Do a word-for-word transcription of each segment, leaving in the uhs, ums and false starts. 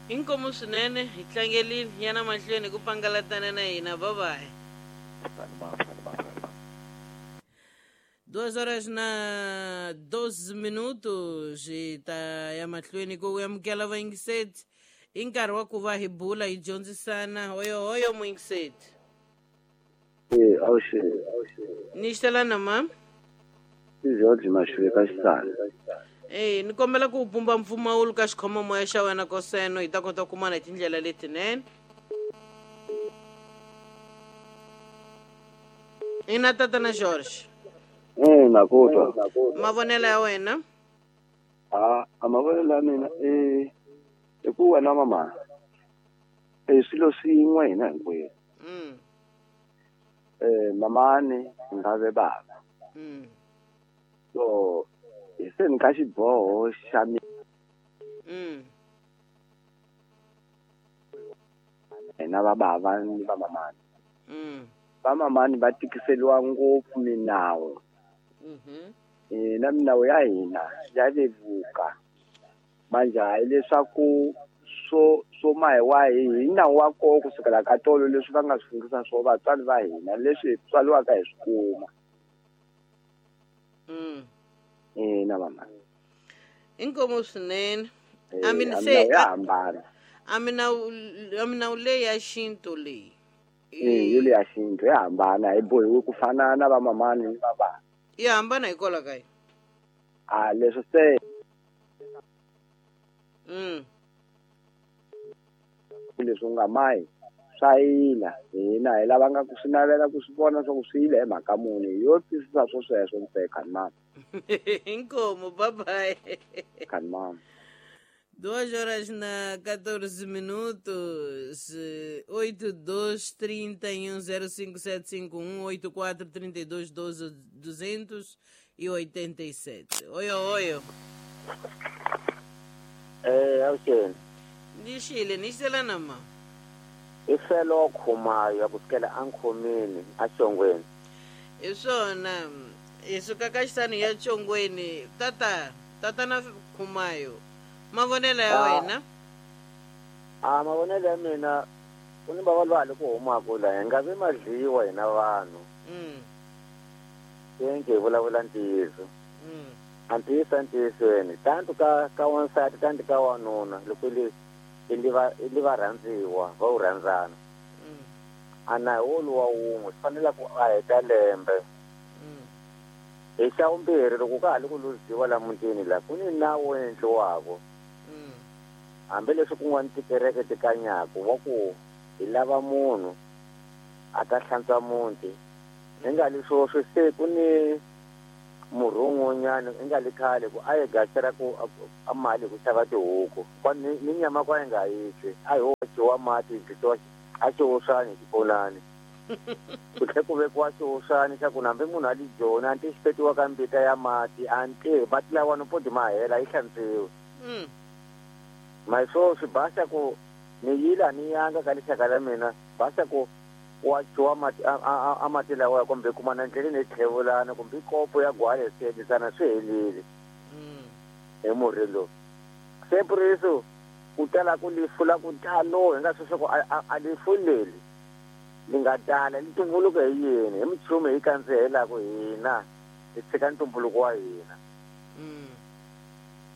Inkomu swinene hi tlangelile yana mahlweni ku pangalatana na hina. Bye bye. Duas horas na doze minutos hi ta ya mahlweni ku amukela vayingiseti i nkarhi wa ku va hi bula hi dyondzisana. Hoyo hoyo muyingiseti. Eh, awuxe ni xitelana ma i George Maxuve ka Xisana. Eh, ni kombela ku pumba mpfumawulo ka xikhomamoya xa wena koseno hi ta kota ku kumana hi tindlela letinene. Ina tatana George. Eh, na ku twa. Mavonelo ya wena? A a mavonelo ya mina eh i ku wena mama eh swilo swin'we hina hinkwenu. Mm. Eh mamani nga ve baba. Mm. So hi se ni ka xiboho xa mi Mm. hina va bava ni va mamani. Mm. Va mamani va tikiseliwa ngopfu minawu. Mhm. Hina minawu ya hina ya vevuka. Manje hayi leswaku swo swo mahi wahi hi nawu wa koho kusukela ka tolo leswi va nga swi fundisa swo vatswari va hina leswi hi tswariwaka hi swi kuma. Mm. Ina mama. Inkomu swinene. Eh, A mina a se minawu ya hambana. a minawu a minawu leyi ya xintu leyi. Eh, yo leya xintu ya hambana hi bohiwi ku fana na va mamani ni va baba. Yi hambana hikwalaho ka yini? A leswi se Mm. leswi u nga mahi swa yila hina hi lava nga ku swi navela ku swi vona swa ku swi yile hi mhaka muni yo twisisa swo sweswo ntsena khani mama. Inkomu, bye bye. Khani mama. Duas horas na catorze minutos, oito dois trinta e um zero cinco sete cinco um, oito quatro trinta e dois doze duzentos e oitenta e sete. Oi, oi. Eh, awuxeni. Ni xile ni xitelana ma. I felo khumayo kusukela ankhomeni axongweni. Hi swona hi suka ka xisani ya Chongweni. Tata, tatana Khumayo. Mavonelo ya Ah. wena? A mavonelo ya mina ku ni va lwa le ku humaka la hi nga vi madliwa hina vanhu. Mm. Senke hi vulavula ntiyiso. Mm. A ntiyiso entiyisweni tantu ka ka wansati tantu ka wanuna loko li i li va i li va rhandziwa va wu rhandzana. Mm. A na hi woluwa wun'we swi fanele ku a heta lembe. Mm. Hi xa vumbirhi loko ka ha ri ku luziwa la mutini la ku ni nawu wu endliwaka. Mm. Hambileswi kun'wana tikereke ti kanyaku wa ku hi lava munhu a ta hlantswa muti. Hi nga li swoswi se ku ni murhun'wanyana i nga li khale ku a hi gasela ku a mali ku xava tihuku kwa ni, ni nyama kwa hi nga yi twi a hi hoxiwa mati hi dlisiwa a xihoxani xiponani ku tlhe ku vekiwa xihoxani xa ku hambi munhu a li joni a nti xi petiwa ka mbita ya mati a nti mati lawani poti ma hela yi hlantswiwe. Mm. Ma swo swi basa ku ni yila ni yanga ka lixaka la mina basa ku wa dyiwa mati a, a, a mati lawa kumbe kuma na ndleleni hi tlhevulana kumbe kopo ya gwale swi endlisana swi helile. Mm. Hi murhi lowu se puriso ku tala ku lifu la ku talo hi nga swi swa ku a, a lifu leri li nga tala li tumbuluka hi yini hi minchumu hi kandzihelaku hina hi tshika ntumbuluko wa hina. Mm.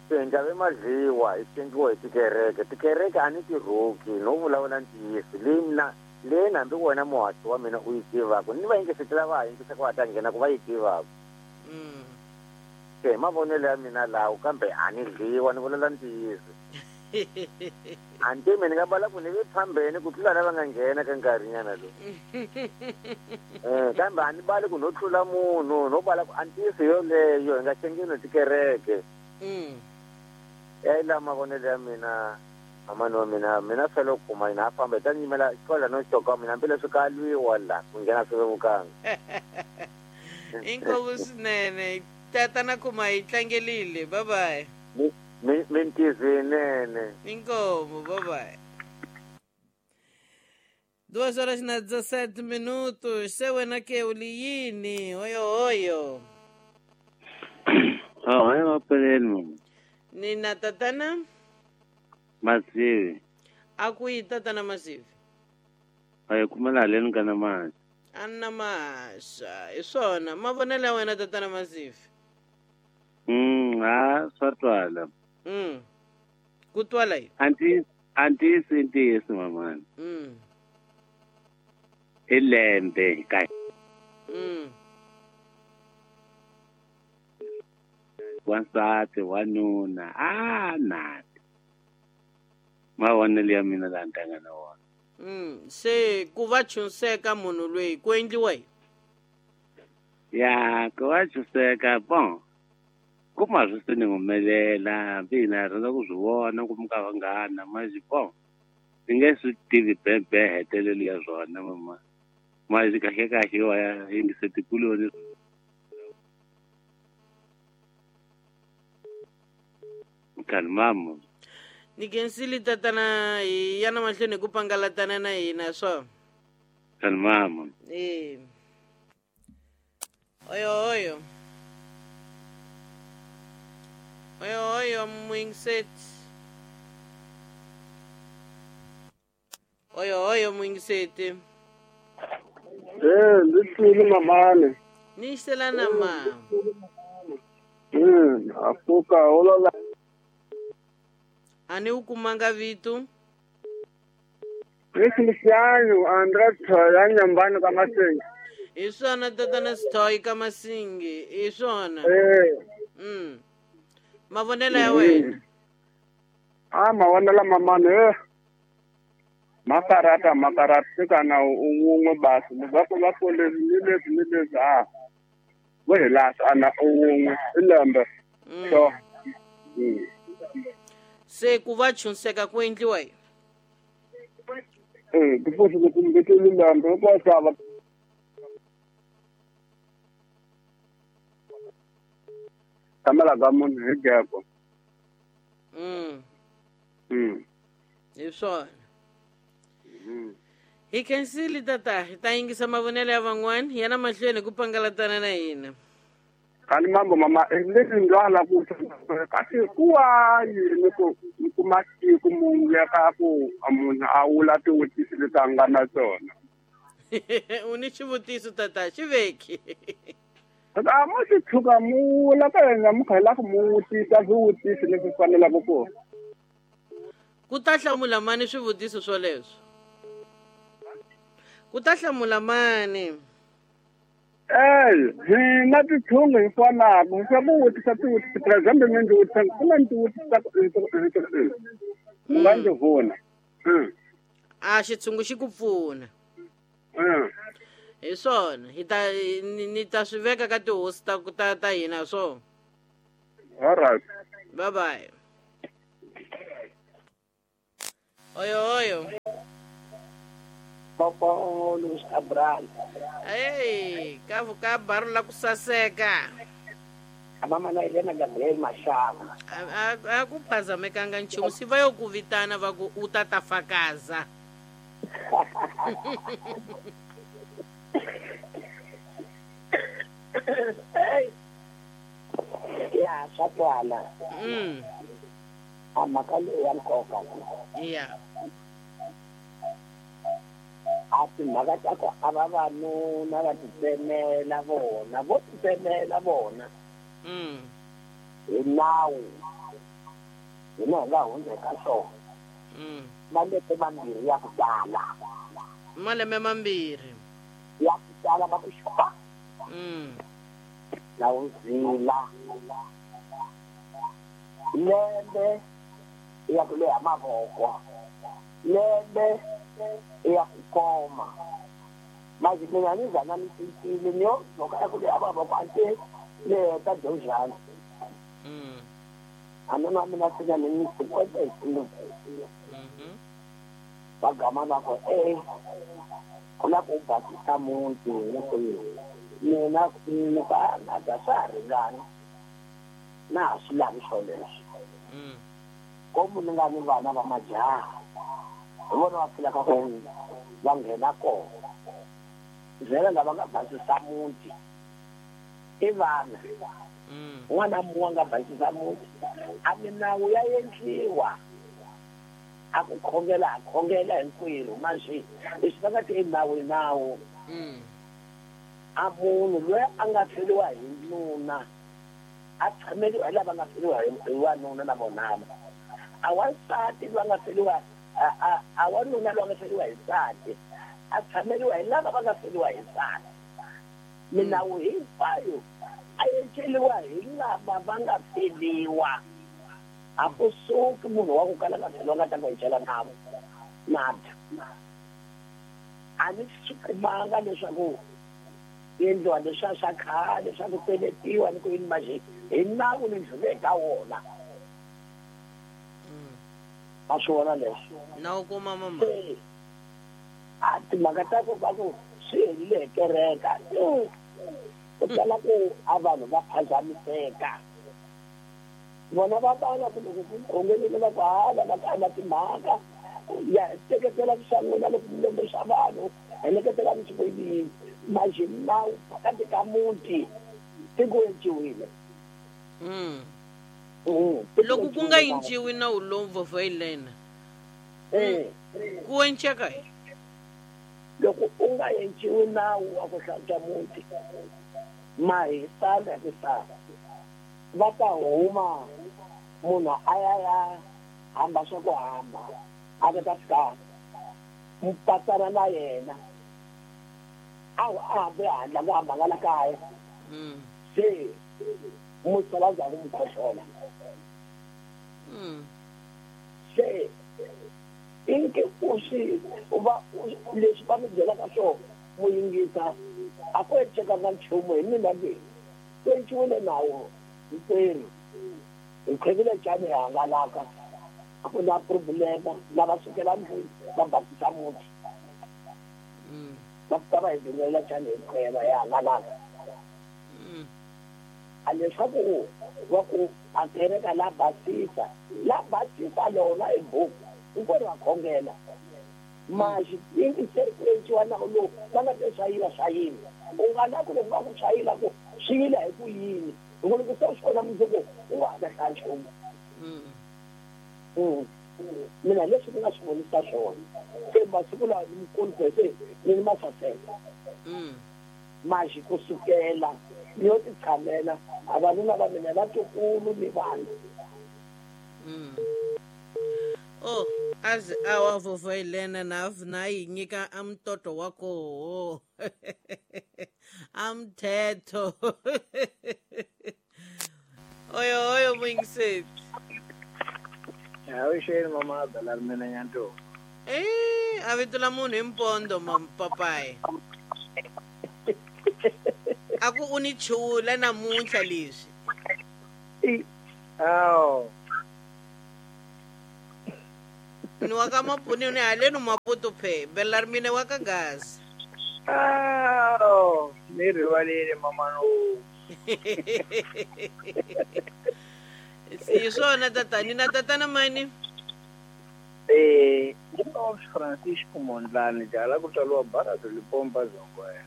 Se hi nga vi madliwa hi xengiwa hi tikereke tikereke a ni ti rhuki no vulavula ntiyiso leyi mina leyi hambi wena muhaxi wa mina u yi tivaka ni va yingisetela va ha yingisaka va ta nghena ku va yi tivaka. Mm. Se hi mavonelo ya mina lawo kambe a ni dliwa ni vulavula ntiyiso. A ni tivi ni nga bala ku ni ve phambeni ku tlula lava nga nghena ka nkarhinyana lowu. Eh, kambe a ni bali ku no tlula munhu no bala ku a ntiyiso yoleyo hi nga xengeni tikereke. Mm. Ya la mavonelo ya mina mamani wa mina mina fela ku kuma hina a famba hi ta nyimela kwala no xoka mina hambileswi ka lwiwa la ku nghena swi vevukanga. Inkomu swinene tatana Khuma hi tlangelile. Bye bye. Mi mintizo yinene. Inkomu, bye bye. Duas horas na dezassete minutos. Se wena ke u li yini? Oyo oyo. Ah, hayi mapeleni mama. Ni na tatana Mazivi. A ku yi tatana Masivi? A yi kumela haleni ka na mali. A na maxa, hi swona mavonelo ya wena tatana Masivi. Mm, ha swa twala. Mm. Ku twala yi? Anti antisi ntiyiso mamani. Mm. I lembe ka. Mm. Wansati wanuna a na. Mavonelo ya mina la ntanga na wona. Mm, se ku va chunseka munhu loyi ku endliwa yini? Ya, ku va chunseka bon. Kuma swi se ni humelela hambi hina hi rhandza ku swi vona ku mi ka vanghana manje bon. Ni nge swi tivi bebe hetelelo ya swona mama. Manje kahle kahle wa ya yingise tikuloni. Kalmamo. Ni khensile tatana hi ya na mahlweni hi ku pangalatana na hina swo. Kalmamo. Eh. Oyo oyo. Oyo oyo mwingiseti. Oyo oyo mwingiseti. Eh, ndithini mamani. Ni xelana ma. Mm, afuka olola. Ani u kumanga vitu? Feliciano André ya nyumbani ka Masingi. Hi swona tatana Sithoyi ka Masingi, hi swona. Eh. Mm. Mavonelo ya wena. Ah, mavonelo mamani eh. Makarata makarata kana un'we basi va va ku leswi ni leswi ni leswi a vo hi lahla ana un'we i lembe. So. Mm. Se ku va chunseka ku endliwa yini? Eh, ku futhi ku kumbe lembe ko xava. Kamela ka munhu hi geko. Mm. Mm. Hi swona. Mm. Hi khensile tata, hi ta yingisa mavonelo ya van'wana ya na mahlweni ku pangalatana na hina. Kani mambo mama leswi ndlwala ku kasi kuwa yini ku kuma siku munhu ya ka ku munhu a wula tivutiso leti a nga na tona. U ni xivutiso tata, xi veki. A mo xi tshuka mu wula ka yena mu kha la ku mu vutisa swivutiso leswi fanelaka ku. Ku ta hlamula mani swivutiso swoleswo? Ku ta hlamula mani? Eh, hina tithungu hi fanaka swa ku vutisa tivutiso for example mina ndzi vutisa ku na ndzi vutisa mu nga ndzi vona. A xitshungu xi ku pfuna. Hi swona hi ta ni ta swi veka ka tihosi ta ta ta hina swo. All right. Bye bye. Oyo oyo. Papa Luis Cabral. Ei, ka ka barro la ku saseka. A mama na Helena Gabriel Mashava. A a ku phazamekanga nchumu si va yo ku vitana va ku u ta ta fakaza. Ya swa twala. Mm. A mhaka leyi ya nkoka. Yeah. A timhaka ta ku a vavanuna va titsemela vona vo titsemela vona. Mm. Hi nawu hina hi nga hundza eka swona. Mm. Malembe mambirhi ya ku tala. Malembe mambirhi. Ya ku tala va ku xupa. Mm. Na wu zila. Lembe ya ku leha mavoko. Lembe ya ku koma. Manje mina ni zana ni cincile ni yo loko ya ku leha mavoko a te ni heta dyondzana. Mm. A nuna mina sina ni ni cinquenta e cinco. Mhm. Va gama va ku eh ku la ku basisa muti ni ku mina ni ka na da swa ha ringana na ha swi lavi swoleswo. Mm. Komu ni nga ni vana va majaha hi vona va pfulaka ku va nghena kona vhele lava nga basisa muti i vana. Mm. N'wana mun'we a nga basisa muti a milawu ya endliwa A ku khongela a khongela hinkwerhu manje leswi va nga ti nawu nawu. A munhu loyi a nga feriwa hi nuna a tshameliwa hi lava nga feriwa hi wanuna na vonana. A wansati loyi a nga feriwa a wanuna loyi a nga feriwa hi nsati a tshameliwa hi lava va nga feriwa hi nsati. Minawu hinkwayo a enceliwa hi lava va nga feriwa. A ku suki munhu wa ku kala nga feriwa nga ta ku encela navo nada. A ni swi kumanga leswaku endliwa leswiya swa khale swa ku peletiwa ni ku yini manje hi nawu ni ndlhule ka wona. Ma swi vona leswo na u kuma mama a timhaka ta ku va ku swi helile hi kereka ku tala ku a vanhu va phazamiseka vona va vana ku loko ku khongelile va ku hala va ka timhaka ya teketela swa n'wina loko mi lombe swa vanhu heleketela mi swi ku yini manje nawu phakati ka muti tiko enciwile. Loko ku nga enciwi nawu lowu vovhailena ku enceka loko u nga enciwi nawu wa ku hlantswa muti mahisana hi sala va ta huma munhu a ya ya hamba swa ku hamba a ta ta fika mupatsana na yena a hambe handle ku hamba nga la kaya se musala ndzhaku mu khohlola se inke u swi va leswi va mi byelaka swona mu yingisa a ku encekanga nchumu hi mina leyi ku enciwile nawu hinkwerhu hi khwevile cani hi hangalaka a ku na problema lava sukela ndlwini va basisa muti va fika va hi dungelela cani hi khweva hi hangalaka. A leswaku va ku a kereka la basisa la basisa lona hi buku hinkwerhu va khongela maxi ingi se ku enciwa nawu lowu va nga te swa yila swa yila u nga na ku loko va ku swa yila ku swi yila hi ku yini hikuva loko se u swi vona mundzuku u nga ha ta hlaya nchumu. Mina leswi ni nga swi vonisa swona se masiku lawa ni mukulu se ni ni masaseka maxi kusukela ni yo ti tshamela a vanuna va mina vatukulu ni vanhu. Oh azi awa vovhailena na na yi nyika a mtoto wa koho a mthetho oyo oyo muyingiseti. Awuxeni mama Bela mina Nyanto. Eh a vito la munhu hi mpondo mapapayi a ku u ni chula namuntlha leswi. Aw ni wa ka Mapuni ni haleni Maputo phe Bela mina wa ka Gaza. Aw ni rivalile mama no. Si swona tatani na tatana mani. Eh Francisco Mondlane jala ku tswariwa Barado Lipompa Zongwe.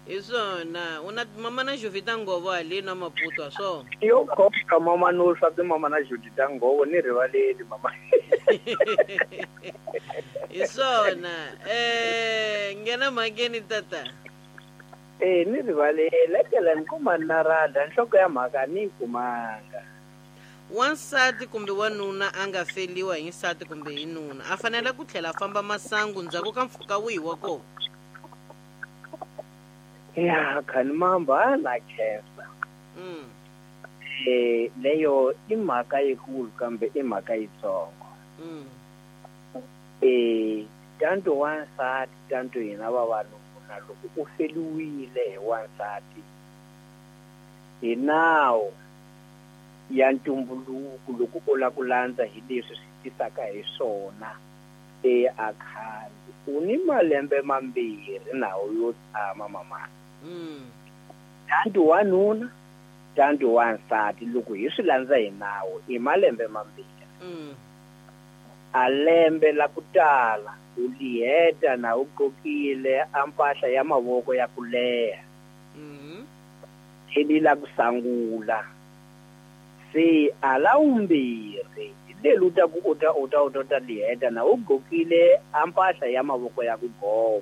Hi swona u na mama na Jovita Ngovo haleni na Maputo a swona. Yo khoka mama no swa ti mama na Jovita Ngovo ni rivaleli mama. Hi swona eh nghena mhakeni tata. Eh ni rivalele kela ni kuma narada nhloko ya mhaka ni kumanga. Wansati kumbe wanuna a nga feliwa hi nsati kumbe hi nuna a fanele ku tlhela a famba masangu ndzhaku ka mpfhuka wihi wa kona? Ya khani mamba na khensa. Eh leyo i mhaka yikulu kambe i mhaka yitsongo. Eh tanto wansati tanto hina vavanuna loko u feliwile hi wansati hi nawu ya ntumbuluko loko u lava ku landza hi leswi swi tisaka hi swona e a khale u ni malembe mambirhi nawu yo tshama mama. Tanto wanuna tanto wansati loko hi swi landza hi nawu i malembe mambirhi. A lembe la ku tala u liheta na u qokile a mpahla ya mavoko ya ku leha tlheli la ku sangula se a la vumbirhi hi leli u ta ku u ta u ta u ta u ta liheta na u gqokile a mpahla ya mavoko ya ku goma.